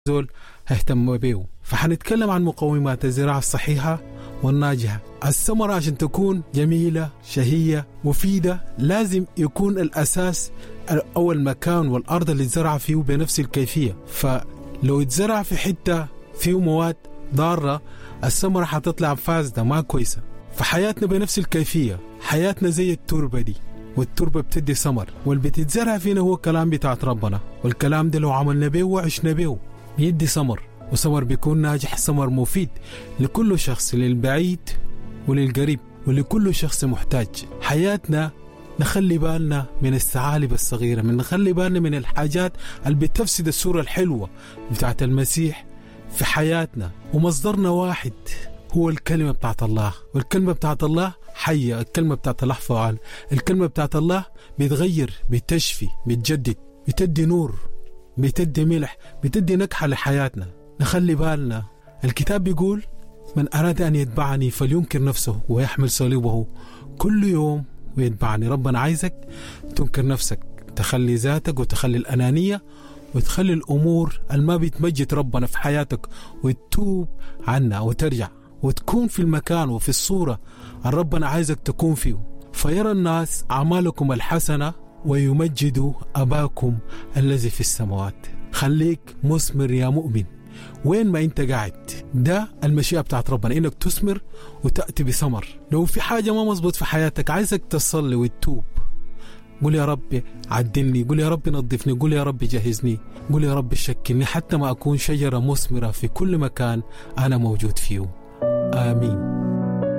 زول هيهتم بيه. فحنتكلم عن مقومات الزراعة الصحيحة والناجحة. الثمرة عشان تكون جميلة شهية مفيدة لازم يكون الأساس أو المكان والأرض اللي اتزرع فيه بنفس الكيفية. فلو اتزرع في حتة فيه مواد ضارة الثمرة حتطلع فاسدة ما كويسة. فحياتنا بنفس الكيفية، حياتنا زي التربة دي، والتربة بتدي ثمر، واللي بتتزرع فينا هو الكلام بتاعت ربنا، والكلام ده لو عملنا به وعشنا به بيدي ثمر، وثمر بيكون ناجح، ثمر مفيد لكل شخص، للبعيد وللقريب ولكل شخص محتاج. حياتنا نخلي بالنا من الثعالب الصغيرة، من نخلي بالنا من الحاجات اللي بتفسد الصورة الحلوة بتاعت المسيح في حياتنا. ومصدرنا واحد هو الكلمة بتاعت الله، والكلمة بتاعت الله حية، الكلمة بتاعت الله فعال، الكلمة بتاعت الله بتغير، بتشفي، بتجدد، بتدي نور، بتدي ملح، بتدي نكحة لحياتنا. نخلي بالنا، الكتاب بيقول من أراد أن يتبعني فلينكر نفسه ويحمل صليبه كل يوم ويتبعني. ربنا عايزك تنكر نفسك، تخلي ذاتك وتخلي الأنانية وتخلي الأمور الما بتمجد ربنا في حياتك وتتوب عنها وترجع وتكون في المكان وفي الصورة اللي ربنا عايزك تكون فيه. فيرى الناس أعمالكم الحسنة ويمجدوا أباكم الذي في السماوات. خليك مثمر يا مؤمن وين ما انت قاعد. ده المشيئة بتاعت ربنا، انك تثمر وتأتي بثمر. لو في حاجة ما مظبوط في حياتك عايزك تصلي وتتوب، قول يا رب عدلني، قول يا رب نظفني، قول يا رب جهزني، قول يا رب شكلني حتى ما أكون شجرة مثمرة في كل مكان أنا موجود فيه. آمين.